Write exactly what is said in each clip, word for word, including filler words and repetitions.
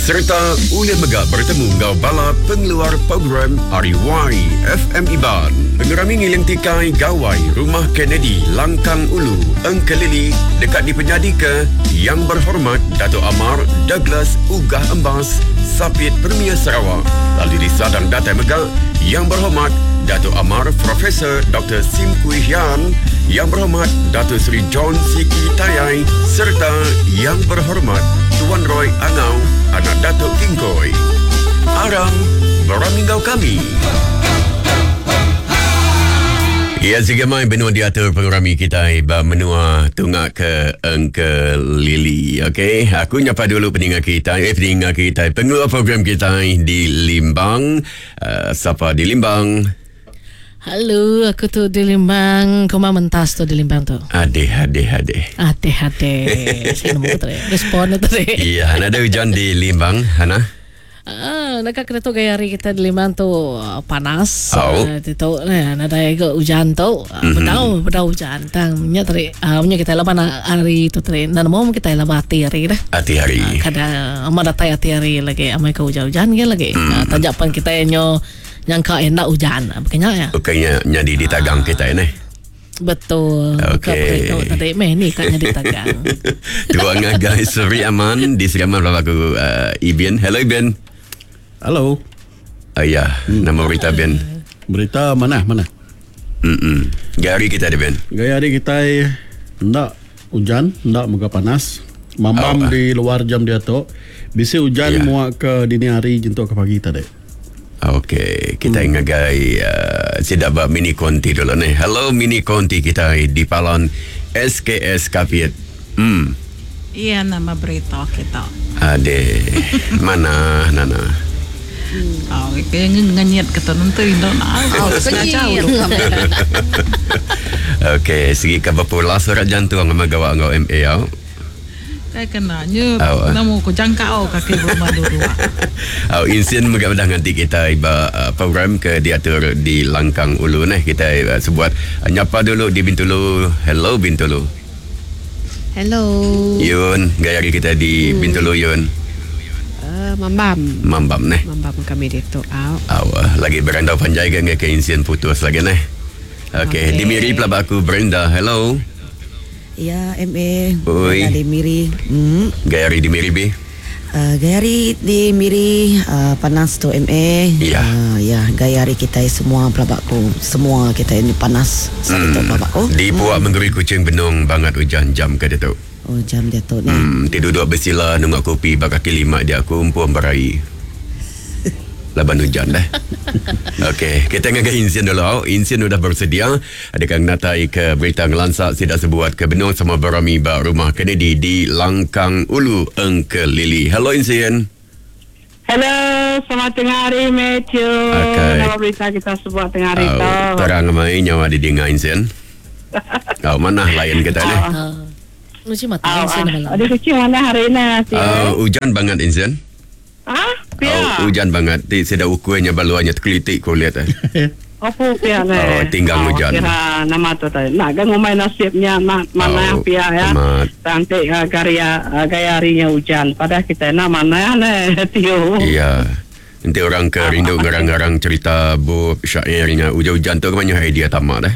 Serta ulih mega bertemu ngau bala pengeluar program R Y F M Iban. Pengerami ngiling tikai Gawai Rumah Kennedy Langkang Ulu Engkelili dekat dipenyadi ke Yang Berhormat Dato' Amar Douglas Uggah Embas Sapit Premier Sarawak. Lalu disadang datai mega Yang Berhormat Dato' Amar Profesor Doktor Sim Kui Hian, Yang Berhormat Dato' Seri John Siki Tayai serta Yang Berhormat Tuan Roy Angau, anak Datuk Kingkoi. Aram beramingau kami. Ya, segamai benua diatur pengerami kita ba menua tunga ke Engkelili. Okey, aku nyapa dulu peninga kita, eh peninga kita, pengeluar program kita di Limbang. Uh, siapa di Limbang? Halo, aku tu di Limbang. Kau mentas tu di Limbang tu. Adeh, adeh, adeh. Adeh, adeh. Saya nemu tu. Respon tu. Iya, ada hujan di Limbang, Hana? Ah, nak kena tu gaya hari kita di Limbang tu panas. Oh. Uh, tu nah, ada juga hujan tu. Mm-hmm. Bedau, bedau hujan. Tang nya tadi, uh, nya kita laban hari tu tadi. Nan mau kita laban hati hari dah. Hati hari. Uh, kadang ama datai hati hari lagi, amai ke hujan-hujan ke lagi. Mm. Uh, tajapan kita nyo nyangka hendak hujan, bukannya ya. Bukannya nyadi ditagang kita ni. Betul. Okey. Tadi meh ni kat nyadi tagang. Tuan guys, Seri Aman di Seri Aman aku uh, Ibian. Hello Ibian. Hello. Oh, ya, hmm. Nama berita Ben. Berita mana mana? Hmm. Gaya hari kita ada Ben. Gaya hari kita hendak hujan, hendak muka panas. Mamam oh, di luar jam dia tu. Bisi hujan yeah. Muak ke dini hari jentuk ke pagi tadi. Okey, kita hmm. ngagai uh, sidak bab mini konti dulu ni. Hello mini konti kita di Palan S K S Kapit. Hmm. Iya, nama berita kita. Ade, mana Nana? Oh, kaya ngenyet kata nanti ndo nak. Oh, jauh. Okey, segi ka berpula surat jantung sama gawak ngau M A au. Saya kena nyu namu ku jangkau kaki rumah dulu. Oh, insien mega dah nganti kita iba uh, program ke diatur di Langkang Ulu neh kita uh, sebuat uh, nyapa dulu di Bintulu. Hello Bintulu. Hello. Yun, gaya kita di hmm. Bintulu Yun. Uh, mambam. Mambam neh. Mambam kami di tu. Au. Au, lagi berandau panjai ke ke insien putus lagi neh. Okey, okay. Di Miri pelabak aku Brenda. Hello. Ya, M A. Oi. Di Miri. Hmm. Gaya hari di Miri B. Uh, gaya hari di Miri uh, panas tu M A. Ya. Uh, ya, gaya hari kita semua pelabakku, semua kita ini panas. Hmm. Pelabakku. Di puak hmm. Menggeri Kucing benung banget hujan jam ke dia tu. Oh, jam dia tu ni. Hmm, tidur duduk bersila nunggu kopi bak kaki lima dia aku umpum berai. Laban hujan dah. Okey, kita ngagai insien dulu. Insien sudah bersedia. Adakah natai ke berita ngelansak sidak sebuat ke benung sama berami ba rumah Kennedy di Langkang Ulu Engkelili. Hello Insien. Hello, selamat tengah hari Matthew. Okay. Nama berita kita sebuat tengah hari oh, tu. Terang mai nyawa di dengar Insien. Oh, mana lain kita ni? Lucu mata Insien malam. Ada kecil mana hari ni? Uh, hujan banget Insien. Ah, pia. Oh, hujan banget. Ti seda ukurannya baluannya terkelitik kau lihat eh. Apa pia ni? Oh, tinggal oh, hujan. Kira nama tu tadi. Nak kan ngumai nasibnya nak mana oh, pia ya. Nanti uh, gaya uh, gaya harinya hujan. Padahal kita nak mana ni Tio. Iya. Nanti orang ke rindu ngarang-ngarang cerita bu syairnya hujan-hujan tu banyak idea tamak dah.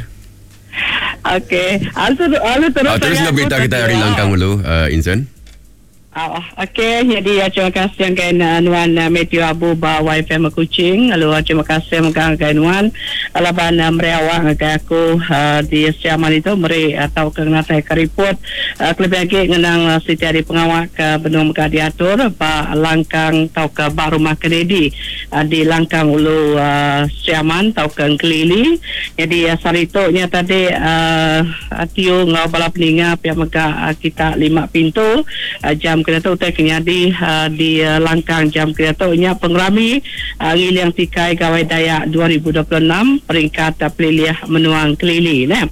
Okey. Alu alu terus. Oh, terus nak berita kita hari Langkang dulu, uh, Insan. Oh, okey, jadi ya, terima kasih yang kain Nuan uh, Matthew Abu ba Y F M Kuching. Lalu terima kasih megang kain Nuan alaban uh, meriawang ke aku uh, di Siaman itu meri atau ke ngatai ke report uh, kelebih lagi ngenang uh, siti hari pengawak ke benung mega diatur ba Langkang tau ke ba rumah Kennedy uh, di Langkang Ulu uh, Siaman tau ke Engkelili. Jadi uh, sarito nya tadi uh, Tio ngau bala peninga pihak mega uh, kita lima pintu uh, jam kena tu utai kenyadi uh, di uh, Langkang jam kena tu nya pengerami uh, Ngiliang Tikai Gawai Dayak dua ribu dua puluh enam peringkat uh, peliliah menuang Kelili nah.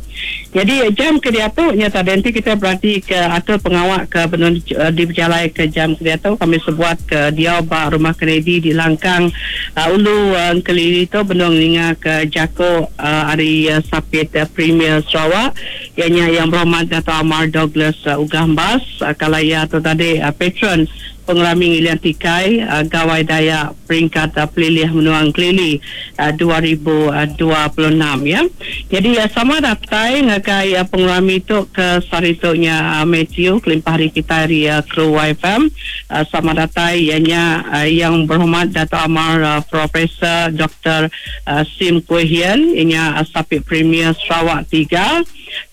Jadi jam kediatu nya tadi nanti kita berarti ke atur pengawak ke benun uh, di berjalai ke jam kediatu kami sebuat ke dia ba rumah Kennedy di Langkang uh, Ulu uh, Kelili tu benung ninga ke Jako uh, hari uh, Sapit uh, Premier Sarawak ianya yang berhormat Dato' Amar Douglas uh, Uggah Embas uh, kalaya tu tadi uh, patron Pengerami Ngilian Tikai uh, Gawai Dayak peringkat uh, Pelilih Menua Engkelili uh, dua ribu dua puluh enam ya. Jadi uh, sama datai ngagai uh, pengerami tu ke saritunya uh, Matthew kelimpah hari kita hari uh, kru Y F M uh, sama datai ianya uh, yang berhormat Dato' Amar uh, Profesor Doktor uh, Sim Kui Hian ianya uh, Sapit Premier Sarawak tiga.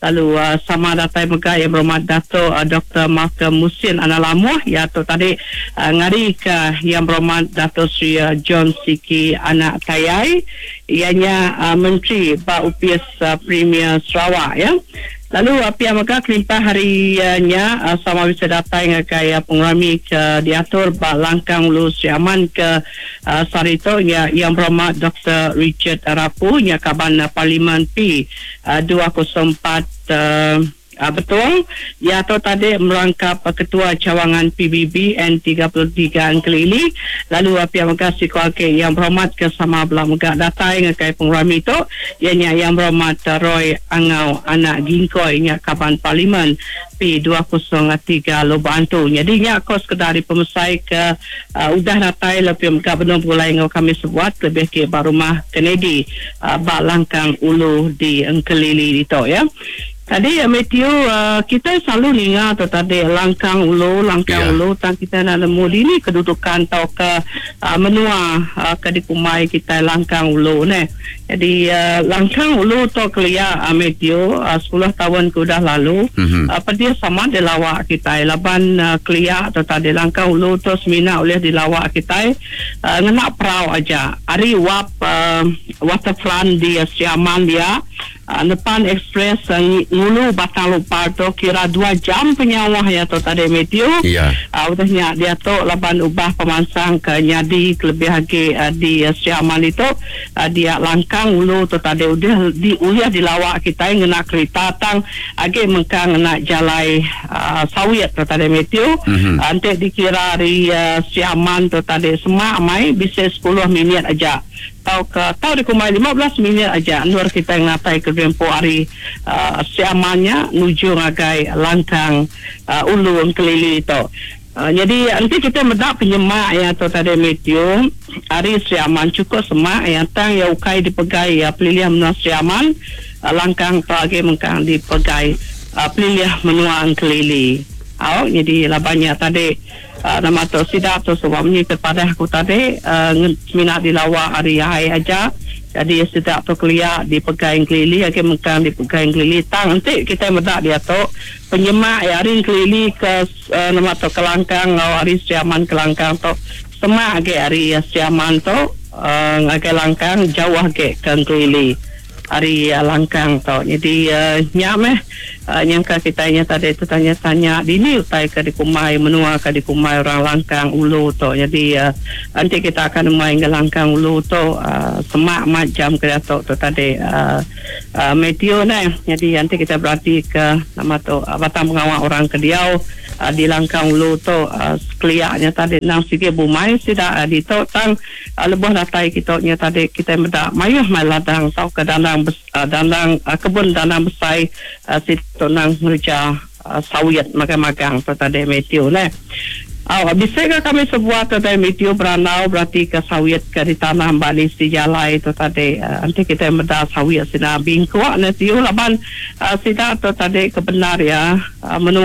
Lalu uh, sama datai mega yang berhormat Dato' uh, Doktor Malcolm Musin Analamuh ya tu tadi uh, ngari ke yang berhormat Dato' Sri uh, John Siki Anak Tayai ianya uh, Menteri Ba Upis uh, Premier Sarawak ya. Lalu uh, pihak mega kelimpah harinya uh, sama bisa datang ngagai uh, pengerami ke diatur ba Langkang Ulu Sri Aman ke uh, sarito ya yang berhormat Doktor Richard Rapu nya kaban uh, Parlimen P uh, dua kosong empat uh, Uh, betul ya tu tadi merangkap uh, ketua cawangan P B B N tiga puluh tiga Engkelili. Lalu uh, pihak mega sikuake yang berhormat ke sama belah mega datai ngagai pengerami tu ianya yang berhormat uh, Roy Angau Anak Gingkoi nya kaban Parlimen P dua kosong tiga Lubok Antu. Jadi nya kos kedari pemesai ke uh, udah datai lebih mega benar pulai ngau kami sebuat lebih ke rumah Kennedy uh, bak Langkang Ulu di Engkelili itu ya. Tadi ya Matthew uh, kita selalu ninga tu tadi Langkang Ulu, Langkang yeah. Ulu tang kita nak nemu di ni kedudukan tau ke uh, menua uh, ke di kumai kita Langkang Ulu ne. Jadi uh, Langkang Ulu tu kelia uh, Matthew uh, sepuluh tahun ke udah lalu mm-hmm. uh, pedia sama dilawak kita laban uh, kelia tu tadi Langkang Ulu tu semina oleh dilawak kita uh, ngena perau aja. Ari wap uh, waterfront di uh, Siaman dia Uh, Nepan Express uh, ngulu Batang Lupar tu kira dua jam penyawah ya tu tadi Matthew. Ya. Uh, udahnya dia tu laban ubah pemansang ke nyadi kelebih lagi uh, di uh, Siaman itu uh, dia Langkang Ulu tu tadi udah di uliah dilawak kita ngena kereta tang agi mengkang ngena jalai uh, sawit tu tadi Matthew. Mm-hmm. Uh, nanti dikira dari uh, Siaman tu tadi semak mai bisa sepuluh minit aja. Tau ke tau di kumai lima belas minit aja nur kita ngatai ke Rempo hari uh, Siamannya nuju ngagai Langkang uh, Ulu Engkelili itu. Uh, jadi nanti kita mendak penyemak ya tu tadi Matthew hari Siaman cukup semak yang tang ya ukai dipegai ya pelilihan menua Siaman uh, Langkang pagi mengkang dipegai uh, pelilihan menua Engkelili. Au jadi labannya tadi Uh, nama tu sidak tu sebab ni kepada aku tadi uh, minat dilawak hari hai aja. Jadi sidak tu kelia dipegai Engkelili agi mengkang dipegai Engkelili tang nanti kita medak dia tu penyemak ya hari Engkelili ke uh, nama tu Kelangkang ngau hari Siaman Kelangkang tu semak agi hari Siaman tu uh, ngagai Langkang jauh agi ke Engkelili hari uh, Langkang tu. Jadi uh, nyam eh uh, nyangka kita nya tadi tu tanya-tanya di ni utai ke di kumai menua ke di kumai orang Langkang Ulu tu. Jadi uh, nanti kita akan main ke Langkang Ulu tu uh, semak macam ke tu tu tadi uh, uh, Matthew ni. Jadi nanti kita berarti ke nama tu uh, batang pengawal orang ke diau uh, di Langkang Ulu tu uh, sekeliaknya tadi nang sikit bumai sidak uh, di tu tang uh, lebuh datai kita nya tadi kita medak mayuh mai ladang tau ke dandang bes, uh, dandang uh, kebun dandang besai uh, situ nang ngerja uh, sawit magang-magang tu tadi Matthew ne. Oh, bisa ke kami sebuah tu tadi Matthew beranau berarti ke sawit ke di tanah bali si jalai tu tadi uh, nanti kita medak sawit sina bingkuak Matthew laban uh, sida tu tadi kebenar ya uh, menua